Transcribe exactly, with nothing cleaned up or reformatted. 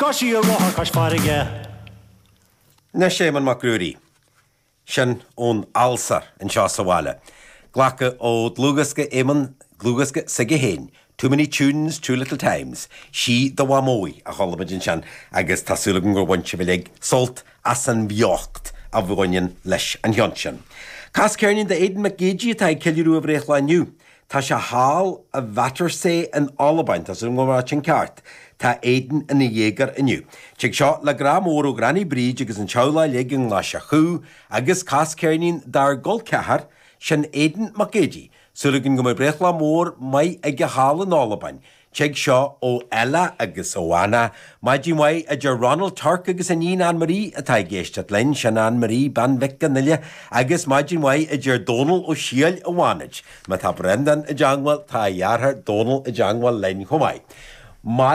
Ghabh sí a rothar cois farraige. Anois Éamonn Mac Ruairí, sin ón Fhealsar anseo sa bhaile. Glactha ó dhlúthdhiosca Éamonn dlúthdhiosca s'aige féin, Too Many Tunes, Too Little Times, Sí do Mhamó í a chuala muid ansin agus tá súil agam gur bhain sibh uilig sult as an bheocht a bhaineann leis an cheann sin. Cas ceirnín d'Aidan Mac Géidigh atá ag ceiliúradh a bhreithlá inniu. Tá sé thall i Vatersay in Albain, tá súil agam go raibh sin ceart. Tá Aidan ina dhéagóir inniu. Tig seo le grá mór ó Ghranny Bríd agus an teaghlach uilig i nGlaiseach agus cas ceirnín dár gcol ceathar sin Aidan Mac Géidigh. Súil againn go mbeidh breithlá mór maith aige thall in Albain. Tig seo ó Ella agus ó Anna, Maidin mhaith a deir Ronald Turk agus a níon Anne-Marie atá ag éisteacht linn sin Anne-Marie bean Mhic an Fhile agus maidin mhaith a deir Dónal Ó Siail a bháid. Má tá Brendan i dteagmháil tá a dheartháir Dónal i dteagmháil linn chomh maith. Mar